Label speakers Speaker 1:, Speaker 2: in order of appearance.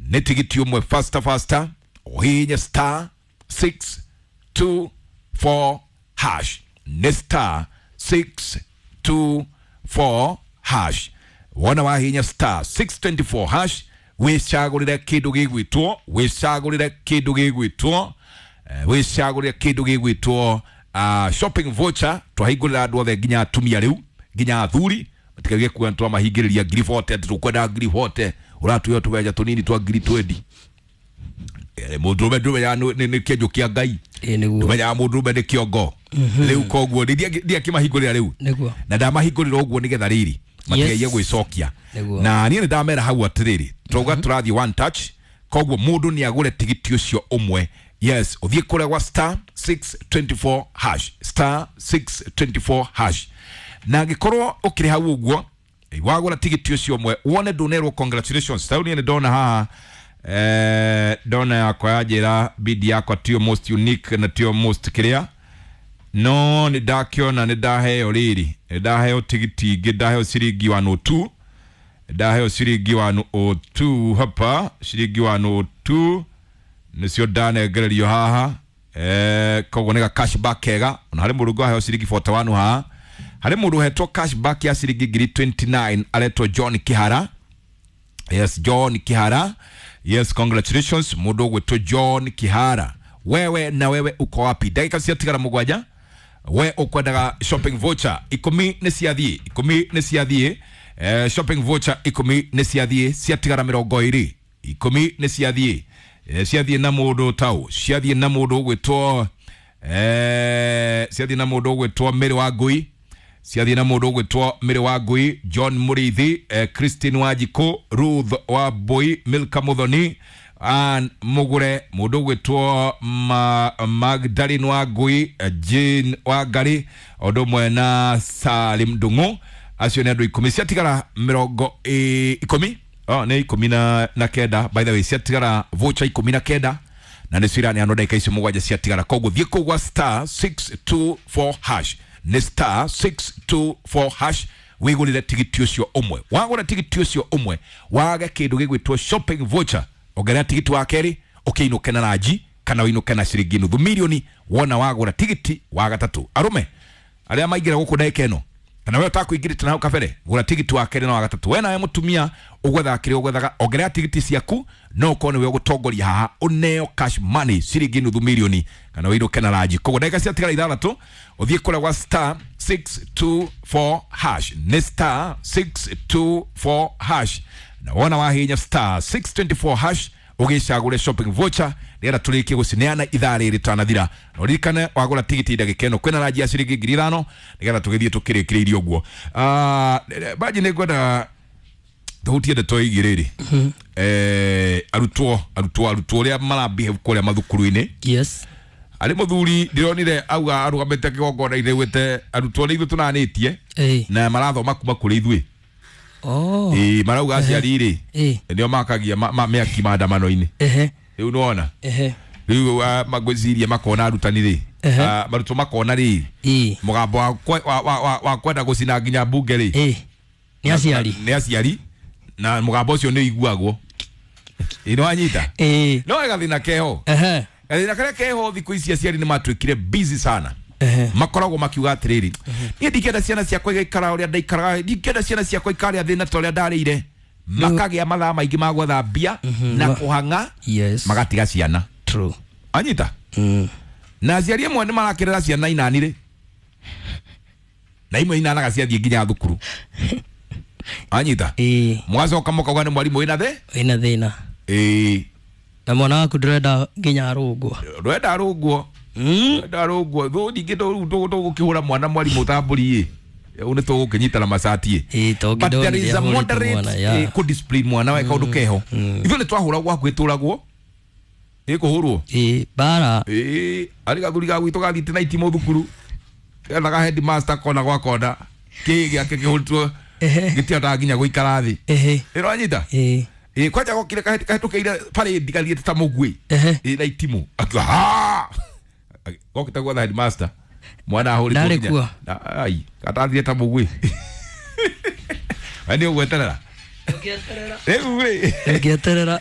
Speaker 1: Nĩ tigiti ũmwe faster faster, ũhihinye star 624 hash, nĩ star 624 hash. Wona wahihinya star 624 hash, wĩcagũrĩre kĩndũ gĩgwĩtwo, wĩcagũrĩre kĩndũ gĩgwĩtwo, wĩcagũrĩre kĩndũ gĩgwĩtwo shopping voucher. Twahingũrĩra andũ othe, nginya atumia rĩu, nginya athuri, matikage kuga twamahingĩrĩria ngiri 40, atĩ tũkwenda ngiri 40, ũratwĩra tũbeca tũnini twa ngiri 20. Mũndũrũme ndũmenyaga nĩ kĩenjo kĩa Ngai.
Speaker 2: Ĩĩ nĩguo.
Speaker 1: Ndũmenyaga mũndũrũme nĩ kĩongo rĩu, koguo ndiakĩmahingũrĩra rĩu.
Speaker 2: Nĩguo.
Speaker 1: Na ndamahingũrĩra ũguo nĩgetha rĩrĩ matigerie gwĩcokia.
Speaker 2: Nĩguo.
Speaker 1: Na niĩ nĩ ndamera hau atĩrĩrĩ, twauga tũrathiĩ one touch, koguo mũndũ nĩ agũre tigiti ũcio ũmwe. Yes, ũthiĩ kũrĩa gwa star 624 hash, star 624 hash, na angĩkorwo ũkĩrĩ hau ũguo, wagũra tigiti ũcio ũmwe, wone ndũnerwo congratulations. Tau niĩ nĩ ndona haha, ndona yakwa yanjĩra bidi yakwa tiyo most unique na tiyo most kĩrĩa, no nĩ ndakĩona nĩ ndaheo rĩrĩ, nĩ ndaheo tigiti ingĩ, ndaheo ciringi 102, ndaheo ciringi 102 hapa, ciringi 102 nĩcio ndanengererio haha. Koguo nĩ ga cashback kega. Ona harĩ mũndũ ũngĩ waheo ciringi 41 haha, harĩ mũndũ ũhetwo cashback ya ciringi ngiri 29, aretwo John Kihara. Yes, John Kihara, yes, congratulations mũndũ ũgwĩtwo John Kihara. Wewe na wewe uko wapi? Ndagĩka ciatigara mũgwanja, we ukwendaga shopping voucher 10 nĩ ciathiĩ, 10 nĩ ciathiĩ, shopping voucher 10 nĩ ciathiĩ, ciatigara 20, 10 nĩ ciathiĩ, ciathiĩ na mũndũ tau, ciathiĩ na mũndũ ũgwĩtwo, ciathiĩ na mũndũ ũgwĩtwo Mary wa Ngui, ciathiĩ na mũndũ ũgwĩtwo Mary wa Ngui, John Mũrĩithi, Christine Wanjikũ, Ruth wa Mbui, Milka Muthoni, Ann Mugure, mũndũ ũgwĩtwo Magdalene wa Ngui, Jane wa Ngari, o ũndũ ũmwe na Salim Ndung'u. Acio nĩ andũ 10, ciatigara mĩrongo 10. Oh, nĩ 19, by the way, ciatigara voucher 19 na nĩcio iraneanwo ndagĩka icio mũgwanja ciatigara. Koguo thiĩ kũu gwa star 624 hash, nĩ star 624 hash, wĩgũrĩre tigiti ũcio ũmwe. Wagũra tigiti ũcio ũmwe, wage kĩndũ gĩgwĩtwo shopping voucher, ongerera tigiti wa kerĩ, ũkĩinũke na ranji kana ũinũke na ciringi nuthu milioni wona wagũra tigiti wa gatatũ. Arũme arĩa maingĩra gũkũ ndagĩka ĩno, kana we ũtakũingĩrĩte na hau kabere, gũra tigiti wa kerĩ na wa gatatũ. We nawe mũtumia ũgwethaga kĩrĩa ũgwethaga, ongerera tigiti ciaku, no ũkorwo nĩwe ũgũtongoria haha ũneo cash money ciringi nuthu milioni kana ũinũke na ranji. Koguo ndagĩka ciatigara ithathatũ, ũthiĩ kũrĩa gwa star 624 hash, nĩ star 624 hash, na wona wahinya star 624 hash, ũgĩcagũre shopping voucher nĩgetha tũrĩkie gũcineana ithaa rĩrĩ tanathira. Na ũririkane wagũra tigiti ndagĩka ĩno kwĩna ranji ya ciringi 5,000 nĩgetha tũgĩthiĩ tũkĩrĩkĩrĩirie ũguo. Banji, nĩ ngwenda tũhutie ndeto ĩgiĩ rĩrĩ, arutwo ũrĩa marabehave kũrĩa mathukuru-inĩ. Harĩ mũthuri ndĩronire auga arũgamĩte kĩgongona-inĩ gwĩte arutwo nĩ ithuĩ tũnanĩtie na marathoma kuma kũrĩ ithuĩ. Ĩĩ, marauga aciari rĩ nĩo makagia mĩaki maandamano-inĩ. Rĩu nĩwona rĩu magwĩciria makona arutani rĩ, marutwo makona rĩ mũgambo wa kwenda gũcina nginya mbunge rĩ
Speaker 2: Nĩ aciari.
Speaker 1: Nĩ aciari, na mũgambo ũcio nĩ ũiguagwo. Ĩ nĩ wanyita? No gathĩna keho, gathĩna karĩa keho thikũ ici, aciari nĩ matuĩkire busy sana. Makoragwo makiuga atĩrĩrĩ, niĩ ndingĩenda ciana ciakwa igaikara ũrĩa ndaikaraga, ndingĩenda ciana ciakwa ikarĩa thĩna ta ũrĩa ndarĩire. Makagĩa mathaa maingĩ ma gwetha mbia na kũhang'a, magatiga ciana. Anyita? Na aciari amwe nĩ marakĩrera ciana inani rĩ, na imwe inanaga ciathiĩ nginya thukuru. Anyita? Mũgacoka mũkauga nĩ mwarimũ wĩna thĩ
Speaker 2: Wĩna thĩna. Na mwana waku ndũrenda nginya arũngwo.
Speaker 1: Ndwenda arũngwo. Ndwenda arũngwo. Thũ ningĩ tũgũkĩhũra mwana mwarimũ ta mbũri ĩ, rĩu nĩ tũgũkĩnyitana macati ĩ.
Speaker 2: Ĩĩ, to
Speaker 1: But there is a
Speaker 2: ngĩndonire ahũrĩte
Speaker 1: moderate
Speaker 2: mwana, yeah.
Speaker 1: kũdiscipline mwana we kaũndũ keho. Ithuĩ nĩ twahũragwo, hakuhĩ tũragwo ĩ kũhũrwo.
Speaker 2: Ĩĩ, mbara.
Speaker 1: Ĩĩ, arĩ gathuri ga gwitũ gathiĩte na itimũ thukuru, gethaga headmaster kona gwa kona, kĩ gĩake kĩhũrĩtwo gĩtihotaga nginya gũikara thĩ. Ĩranyita? Ĩĩ, kwanja gokire kahĩtũkĩire parade gathiĩte ta mũguĩ. Ĩĩ, na itimũ, akiuga ha gokĩte gwetha headmaster, mwana ahũrĩtwo
Speaker 2: Ndarĩ
Speaker 1: nginya-
Speaker 2: kuo?
Speaker 1: Ai, gatathire ta mũguĩ. We nĩ ũgweterera rĩu rĩ?
Speaker 2: Ngĩeterera.